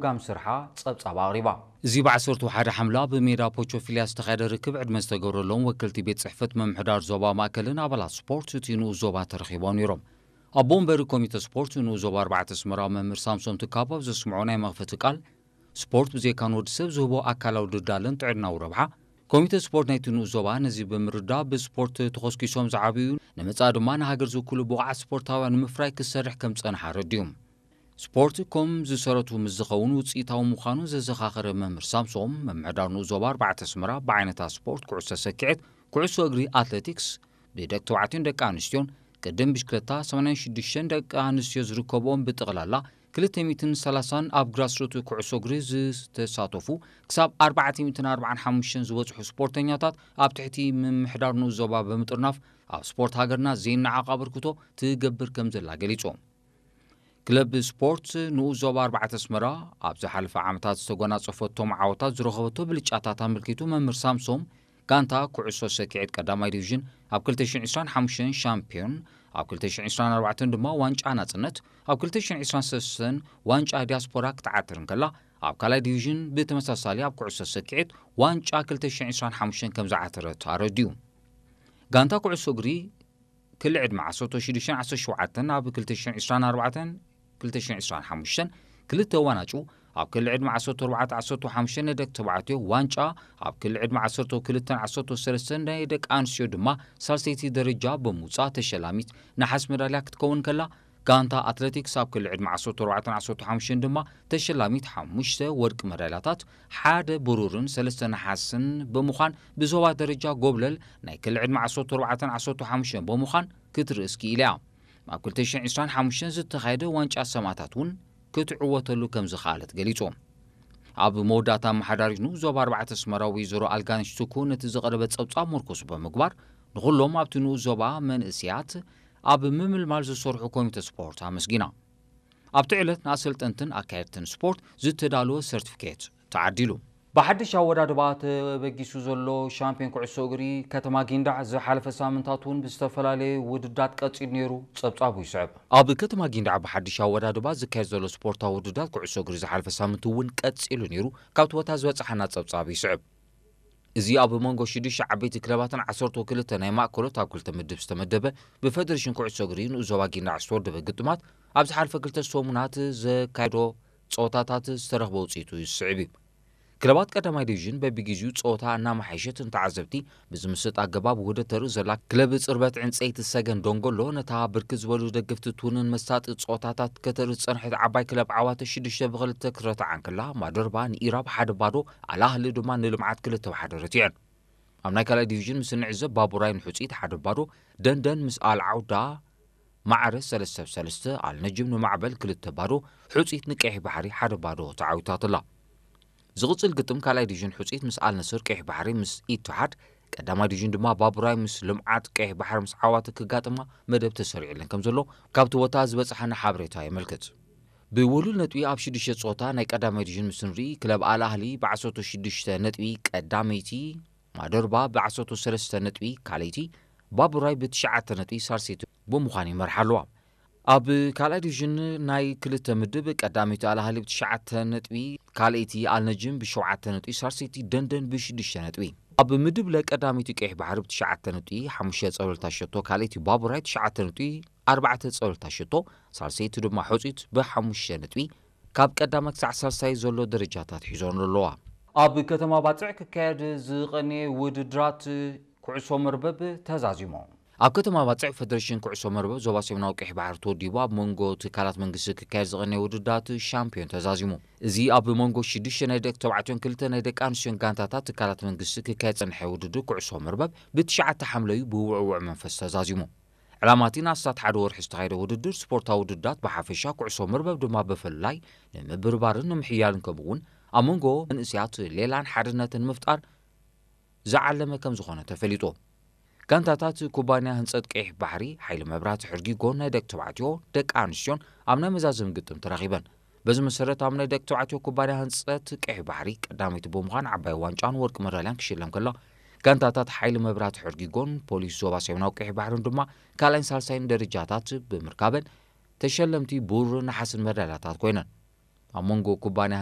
ምምሕዳር ስርሓ ጸብጻብ ኣቕሪባ። እዚ ብ ዓሰርተ ሓደ ሓምላ ኣብ ሜዳ ፖቾፊልያ ዝተኻየደ ርክብ ዕድመ ዝተገብረሎም ወከልቲ ቤት ጽሕፈት ምምሕዳር ዞባ ማእከልን ኣባላት ስፖርት እቲ ንኡስ ዞባ ተረኺቦም ነይሮም። ኣቦ ወንበር ኮሚተ ስፖርት ንኡስ ዞባ ኣርባዕተ ኣስመራ መምህር ሳምሶም ትካቦ ኣብ ዘስምዖ ናይ መኽፈቲ ቃል፣ ስፖርት ብዘይካ ንወዲ ሰብ ዝህቦ ኣካላዊ ድልዳለን ጥዕናዊ ረብሓ፣ ኮሚተ ስፖርት ናይቲ ንኡስ ዞባ ነዚ ብምርዳእ ብስፖርት ተኾስኪሶም ዝዓበዩ፣ ንመጻኢ ድማ ንሃገር ዝውክሉ ብቑዓት ስፖርታውያን ንምፍራይ ክሰርሕ ከም ዝጸንሓ ኣረዲኡ። ስፖርት ከም ዝሰረቱ ምስ ዝኸውን ውጽኢታዊ ምዃኑ ዘዘኻኸረ መምህር ሳምሶም፣ ምምሕዳር ንኡስ ዞባ ኣርባዕተ ኣስመራ ብዓይነታት ስፖርት ኩዕሶ ሰኪዔት፣ ኩዕሶ እግሪ፣ ኣትሌቲክስ፣ ብደቂ ተባዕትዮን ደቂ ኣንስትዮን፣ ቅድም ብሽክለታ ሰማንያን ሽዱሽተን ደቂ ኣንስትዮ ዝርከብኦም ብጠቕላላ ክልተ ሚእትን ሰላሳን ኣብ ግራስሩት ኩዕሶ እግሪ ዝተሳተፉ ክሳብ ኣርባዕተ ሚእትን ኣርባዓን ሓሙሽተን ዝበጽሑ ስፖርተኛታት ኣብ ትሕቲ ምምሕዳር ንኡስ ዞባ ብምጥርናፍ ኣብ ስፖርት ሃገርና ዘይነዓቕ ኣበርክቶ ትገብር ከም ዘላ ገሊጾም። ክለብ ስፖርት ንኡስ ዞባ ኣርባዕተ ኣስመራ ኣብ ዝሓለፈ ዓመታት ዝተጎናጸፈቶም ዓወታት ዝረኸበቶ ብልጫታት ኣመልኪቱ መምህር ሳምሶም፣ ጋንታ ኩዕሶ ሰኪዔት ቀዳማይ ዲቪዥን ኣብ ክልተ ሽሕን ዕስራን ሓሙሽተን ሻምፒዮን፣ ኣብ ክልተ ሽሕን ዕስራን ኣርባዕተን ድማ ዋንጫ ናጽነት፣ ኣብ ክልተ ሽሕን ዕስራን ሰለስተን ዋንጫ ዲያስፖራ ክትዓትር እንከላ፣ ኣብ ካልኣይ ዲቪዥን ብተመሳሳሊ ኣብ ኩዕሶ ሰኪዔት ዋንጫ ክልተ ሽሕን ዕስራን ሓሙሽተን ከም ዝዓተረት ኣረዲኡ። ጋንታ ኩዕሶ እግሪ ክሊ ዕድመ ዓሰርተ ሽዱሽተን ዓሰርተ ሸውዓተን ኣብ ክልተ ሽሕን ዕስራን ኣርባዕተን ክልተ ሽሕን ዕስራን ሓሙሽተን ክልተ ዋናጩ፣ ኣብ ክሊ ዕድመ ዓሰርተ ኣርባዕተ ዓሰርተ ሓሙሽተ ናይ ደቂ ተባዕትዮ ዋንጫ፣ ኣብ ክሊ ዕድመ ዓሰርተ ክልተን ዓሰርተ ሰለስተን ናይ ደቂ ኣንስትዮ ድማ ሳልሰይቲ ደረጃ ብምውጻእ ተሸላሚት ነሓስ መዳልያ ክትከውን ከላ፣ ጋንታ ኣትሌቲክስ ኣብ ክሊ ዕድመ ዓሰርተ ኣርባዕተን ዓሰርተ ሓሙሽተን ድማ ተሸላሚት ሓሙሽተ ወርቂ መዳልያታት፣ ሓደ ብሩርን ሰለስተ ነሓስን ብምዃን ብዞባ ደረጃ ጎብለል ናይ ክሊ ዕድመ ዓሰርተ ኣርባዕተን ዓሰርተ ሓሙሽተን ብምዃን ክትርእስ ክኢላ እያ። ኣብ ክልተ ሽሕን ዕስራን ሓሙሽተን ዝተኻየደ ዋንጫ ሰማእታት እውን ክትዕወተሉ ከም ዝኸኣለት ገሊጹ። ኣብ መወዳእታ ኣመሓዳሪት ንኡስ ዞባ ኣርባዕተ ኣስመራ ወይዘሮ ኣልጋነሽ ቱኩ ነቲ ዝቐረበ ጸብጻብ ምርኩስ ብምግባር ንኹሎም ኣብቲ ንኡስ ዞባ መንእስያት ኣብ ምምልማል ዝሰርሑ ኮሚተ ስፖርት ኣመስጊና። ኣብቲ ዕለት ንኣሰልጠንትን ኣካየድትን ስፖርት ዝተዳለወ ሰርቲፊኬት ተዓዲሉ። ብሓድሽ ኣወዳድባ ተበጊሱ ዘሎ ሻምፒዮን ኩዕሶ እግሪ ከተማ ጊንዳዕ ዝሓለፈ ሳምንታት እውን ብዝተፈላለየ ውድዳት ቀጺሉ ነይሩ። ጸብጻቡ ይስዕብ። ኣብ ከተማ ጊንዳዕ ብሓድሽ ኣወዳድባ ዝካየድ ዘሎ ስፖርታዊ ውድዳት ኩዕሶ እግሪ ዝሓለፈ ሳምንት እውን ቀጺሉ ነይሩ። ካብቲ ቦታ ዝበጻሓና ጸብጻብ ይስዕብ። እዚ ኣብ መንጎ ሽዱሽተ ዓበይቲ ክለባትን ዓሰርተ ክልተ ናይ ማእከሎት ኣብ ክልተ ምድብ ዝተመደበ ብፌደሬሽን ኩዕሶ እግሪ ንኡስ ዞባ ጊንዳዕ ዝተወደበ ግጥማት ኣብ ዝሓለፈ ክልተ ሰሙናት ዘካየዶ ጸወታታት ዝተረኽበ ውጽኢቱ ዝስዕብ እዩ። ክለባት ቀዳማይ ዲቪዥን በቢግዜኡ ጸወታ እናመሓየሸት ንተዓዘብቲ ብዝምስጥ ኣገባብ ውህደት ተርኢ ዘላ ክለብ ጽርበት ዕንጸይቲ ሰገን ደንጎሎ ነታ ብርክት ዝበሉ ደገፍቲ ትውንን መሳጢ ጸወታታት ከተርኢ ዝጸንሐት ዓባይ ክለብ ዓዋተ ሽዱሽተ ብኽልተ ክትረትዓ እንከላ፣ ማደርባ ንኢራብ ሓደ ባዶ፣ ኣልኣህሊ ድማ ንልምዓት ክልተ ብሓደ ረቲዐን። ኣብ ናይ ካልኣይ ዲቪዥን ምስ እንዕዘብ፣ ባቡራይ ንሑጺት ሓደ ባዶ፣ ደንደን ምስ ኣልዓውዳ ማዕረ ሰለስተ ብ ሰለስተ፣ ኣልነጅም ንማዕበል ክልተ ባዶ፣ ሑጺት ንቀይሕ ባሕሪ ሓደ ባዶ ተዓዊታትላ። ዝቕጽል ግጥም ካልኣይ ዲቪዥን ሑጺት ምስ ኣልነስር፣ ቀይሕ ባሕሪ ምስ ኢትሓድ፣ ቀዳማይ ዲቪዥን ድማ ባቡራይ ምስ ልምዓት ቀይሕ ባሕሪ ምስ ዓዋተ ክጋጥማ መደብ ተሰሪዕለን ከም ዘሎ ካብቲ ቦታ ዝበጽሓና ሓበሬታ የመልክት። ብውሉል ነጥቢ ኣብ ሽዱሽተ ጸወታ ናይ ቀዳማይ ዲቪዥን ምስ ንርኢ፣ ክለብ ኣል ኣህሊ ብ ዓሰርተ ሽዱሽተ ነጥቢ ቀዳመይቲ፣ ማደርባ ብ ዓሰርተ ሰለስተ ነጥቢ ካልኣይቲ፣ ባቡራይ ብ ትሽዓተ ነጥቢ ሳልሰይቲ ብምዃን ይመርሓ ኣለዋ። ኣብ ካልኣይ ዲቪዥን ናይ ክልተ ምድብ ቀዳመይቲ ኣል ኣህሊ ብ ትሽዓተ ነጥቢ፣ ካልኣይቲ ኣል ነጅም ብ ሸውዓተ ነጥቢ፣ ሳልሰይቲ ደንደን ብ ሽዱሽተ ነጥቢ። ኣብ ምድብ ለ ቀዳመይቲ ቀይሕ ባሕሪ ብ ትሽዓተ ነጥቢ፣ ሓሙሽተ ጸብለልታ ሸቶ፣ ካልኣይቲ ባቡራይ ትሽዓተ ነጥቢ፣ ኣርባዕተ ጸብለልታ ሸቶ፣ ሳልሰይቲ ድማ ሑጺት ብ ሓሙሽተ ነጥቢ ካብ ቀዳማይ ክሳዕ ሳልሳይ ዘሎ ደረጃታት ሒዞን ኣለዋ። ኣብ ከተማ ባጽዕ ክካየድ ዝቐነየ ውድድራት ኩዕሶ መርበብ ተዛዚሙ። ኣብ ከተማ ባጽዕ ፈደሬሽን ኩዕሶ መርበብ ዞባ ሰሜናዊ ቀይሕ ባሕሪ ተወዲቡ ኣብ መንጎ ትካላት መንግስቲ ክካየድ ዝቐነየ ውድድራት ሻምፒዮን ተዛዚሙ። እዚ ኣብ መንጎ ሽዱሽተ ናይ ደቂ ተባዕትዮን ክልተ ናይ ደቂ ኣንስትዮን ጋንታታት ትካላት መንግስቲ ክካየድ ዝጸንሐ ውድድር ኩዕሶ መርበብ ብትሽዓተ ሓምለዩ ብውዕውዕ መንፈስ ተዛዚሙ። ዕላማ እቲ ንኣስታት ሓደ ወርሒ ዝተኻየደ ውድድር ስፖርታዊ ውድድራት ብሓፈሻ ኩዕሶ መርበብ ድማ ብፍላይ ንምብርባርን ንምሕያልን ከምኡ እውን ኣብ መንጎ መንእስያት ሌላን ሓድነትን ንምፍጣር ዝዓለመ ከም ዝኾነ ተፈሊጡ። ጋንታታት ኩባንያ ህንጸት ቀይሕ ባሕሪ፣ ሓይሊ መብራህቲ ሕርጊጎን ናይ ደቂ ተባዕትዮ ደቂ ኣንስትዮን ኣብ ናይ መዛዘሚ ግጥም ተራኺበን። በዚ መሰረት ኣብ ናይ ደቂ ተባዕትዮ ኩባንያ ህንጸት ቀይሕ ባሕሪ ቀዳመይቲ ብምዃን ዓባይ ዋንጫን ወርቂ መዳልያን ክሽለም ከሎ፣ ጋንታታት ሓይሊ መብራህቲ ሕርጊጎን ፖሊስ ዞባ ሰሜናዊ ቀይሕ ባሕርን ድማ ካልኣይን ሳልሳይን ደረጃታት ብምርካበን ተሸለምቲ ብሩርን ነሓስን መዳልያታት ኮይነን። ኣብ መንጎ ኩባንያ